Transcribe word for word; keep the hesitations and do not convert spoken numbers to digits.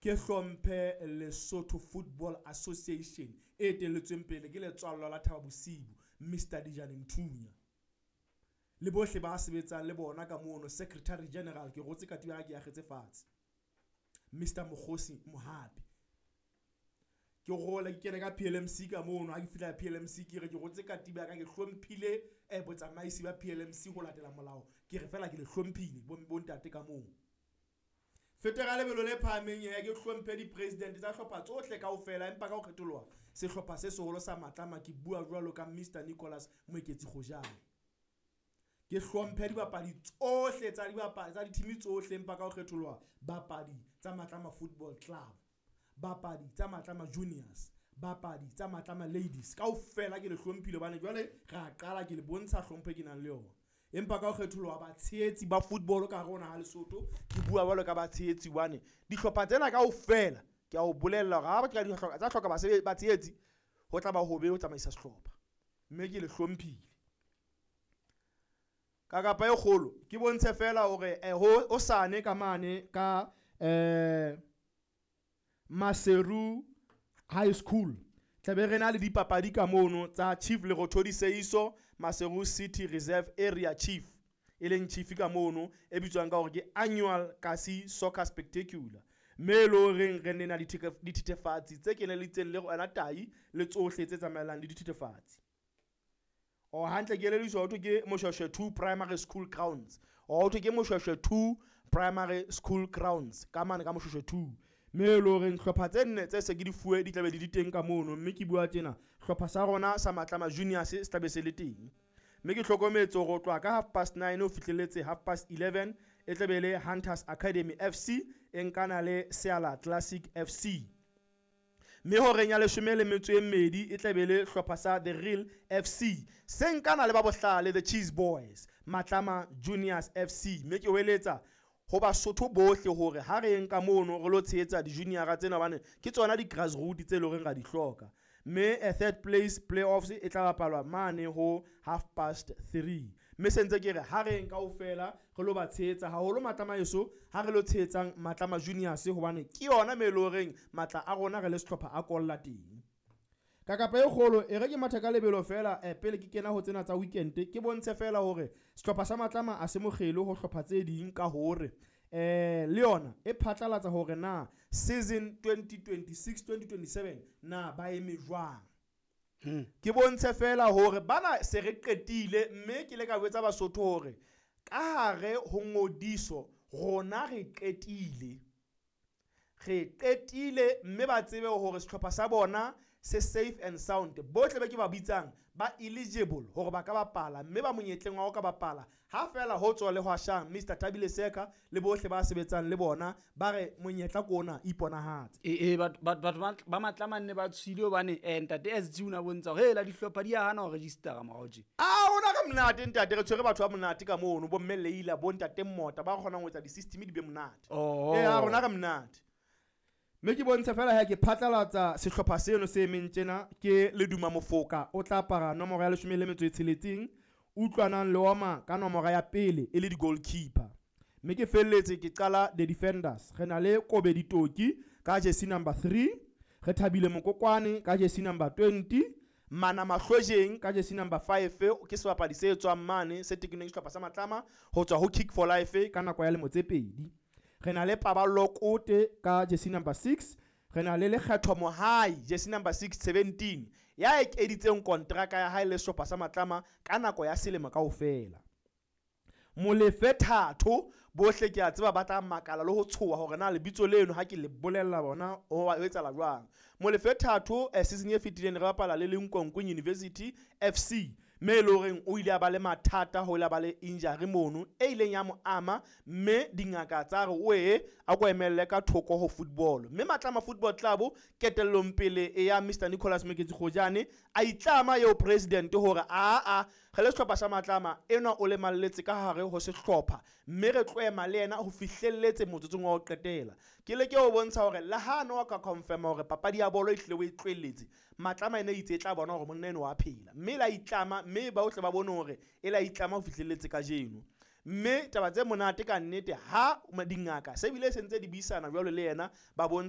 Ke hlomphe Lesotho Football Association e etelletsweng pele ke letswallwa la Thaba Bosiu, Mister Dijane Nthunya. Le bohle ba sebetsang le bona ka mono, Secretary General ke rotse katiba ya ka ke akgetse fatshe, Mister Mokgosi Mohapi. Ke role ke kene ka P L M C ka mono, ha ke fihla P L M C ke re ke rotse katiba ya ka, ke hlomphile eh, botsamaisi ba P L M C ho latela molao. Ke re fela ke le hlomphile bo, bontate ka moo. Fete ka lebelo le phahameng he, ke hlomphe di-president tsa hlopha tsohle kaofela, empa ka ho kgetholoha sehlopha se seholo sa Matlama, ke bua jwalo ka Mister Nicholas Moeketsi Kgojane. Ke hlomphe dibapadi tsohle tsa dibapadi tsa di-team tsohle, empa ka ho kgetholoha bapadi tsa Matlama Football Club, bapadi tsa Matlama Juniors, bapadi tsa Matlama Ladies, kaofela ke le hlomphile hobane jwale re a qala ke le bontsha hlompho e ke nang le yona. Empa ka ho kgetholoha batshehetsi ba football ka hare ho naha Lesotho, ke bua jwalo ka batshehetsi hobane dihlopha tsena kaofela ke a o bolella hore ha ba ka di hloka, tsa hloka basebe-, batshehetsi, ho tla ba hobe ho tsamaisa sehlopha, mme ke le hlomphile. Ka kapa e kgolo ke bontshe fela hore, eh, ho, ho sane ka mane ka, eh, Maseru High School tlabe re na le dipapadi ka mono tsa Chief Lerothodi Seiso, Maseru City Reserve Area Chief, e leng chief ka mono e bitswang ka hore ke Annual Kasi Soccer Spectacular, mme e le horeng re nena ditheke-, dithethefatsi tse keneletseng le yona tai le tsohle tse tsamaelang le dithethefatsi. O hantle ke elelliswa ho thwe ke Moshweshwe two Primary School Grounds. O ho thwe ke Moshweshwe two Primary School Grounds ka mane ka Moshweshwe two. Mme e le horeng hlopha tse nne tse se ke di fuwe di tlabe di le teng ka mono, mme ke bua tjena hlopha sa rona sa Matlama Juniors se tlabe se le teng. Mme ke hlokometse hore ho tloha ka half past nine ho fihlelletse half past eleven e tlabe e le Hunters Academy F C e nkana le Seala Classic F C. Mme horeng ya leshome le metso e mmedi e tlabe e le hlopha sa The Real F C se nkana le ba bohlale The Cheese Boys Matlama Juniors F C. Mme ke hweletsa ho Basotho bohle hore ha re yeng ka mono re lo tshehetsa di-junior-a tsena hobane ke tsona di-grassroots tse leng hore ra di hloka. Mme a third place playoffs e tla bapalwa mane ho half past three. Mme se ntse ke re ha re yeng kaofela re lo ba tshehetsa haholo Matlama heso, ha re lo tshehetsang Matlama Juniors hobane ke yona me e leng horeng matla a rona re le sehlopha a kolla teng. Ka kapa e kgolo e re ke mathe ka lebelo fela, eh, pele ke kena ho tsena tsa weekend, ke bontshe fela hore sehlopha sa Matlama a se mokgelo ho hlopha tse ding ka hore, eh, le yona e phatlalatsa hore na season twenty twenty-six twenty twenty-seven na ba eme jwang. Hmm. Ke bontshe fela hore bana se re qetile, mme ke le ka jwetsa Basotho hore ka hare ho ngodiso rona re qetile. Re qetile mme ba tsebe hore sehlopha sa bona se safe and sound. Bohle ba ke ba bitsang ba eligible hore ba ka bapala, mme ba monyetleng wa ho ka bapala. Ha fela ho tswa le hwashang Mister Thabile Seka le bohle ba sebetsang le bona ba re monyetla ke ona, iponahatse. E, e, batho, batho, batho ba, ba Matlama nne ba tshohile hobane, eh, ntate S G o na bontsha hore, hela dihlopha di a hana ho register-a morao tje. Ah, rona re monate ntate, re tshwere batho ba monate ka mono, bo mme Leila, bo ntate Mmota ba kgonang ho etsa di-system di be monate. Oh. Eh, a rona re monate. Mme ke bontshe fela ha ke phatlalatsa sehlopha seno se emeng tjena, ke Leduma Mofoka o tla apara nomoro ya leshome le metso e tsheletseng, Utlwanang Leoma ka nomoro ya pele e le di-goalkeeper. Mme ke felletse ke qala the defenders. Re na le Kobe Ditoki ka jersey number three, re Thabile Mokokwane ka jersey number twenty, Mana Mahlojeng ka jersey number five, ke sebapadi se tswang mane se tekeneng sehlopha sa Matlama ho tswa ho Kick for Life ka nako ya lemo tse pedi. Re na le Paballo Kote ka jersey number six, re na le Lekgetho Mohai jersey number six seventeen ya ekeditseng kontraka ya hae le sehlopha sa Matlama ka nako ya selemo kaofela. Molefe Thato bohle ke a tseba ba tla makala le ho tshoha hore na lebitso leno ha ke le bolella bona ho wa etsahala jwang. Molefe Thato, eh, season e fetileng re bapala le Linkonko University F C, mme e le horeng o ile a ba le mathata, ho ile a ba le injury mono e ileng ya mo ama, mme dingaka tsa re o e a ko emelle ka thoko ho football. Mme Matlama Football Club ketellong pele e ya Mister Nicholas Moketsi Kgojane a itlama eo president hore a a re le sehlopha sa Matlama enwa o lemalletse ka hare ho sehlopha, mme re tlo ema le yena ho fihlelletse motsotsong wa ho qetela. Ke leke ho bontsha hore le ha no ka confirm hore papadi ya bolo e hlile o e tlohelletse, Matlama ene itse e tla bona hore monna enwa wa phela, mme la itlama, mme ba bohle ba bone hore e la itlama ho fihlelletse kajeno. Mme taba tse monate ka nnete ha dingaka se bile se ntse di buisana jwalo le yena, ba bontsha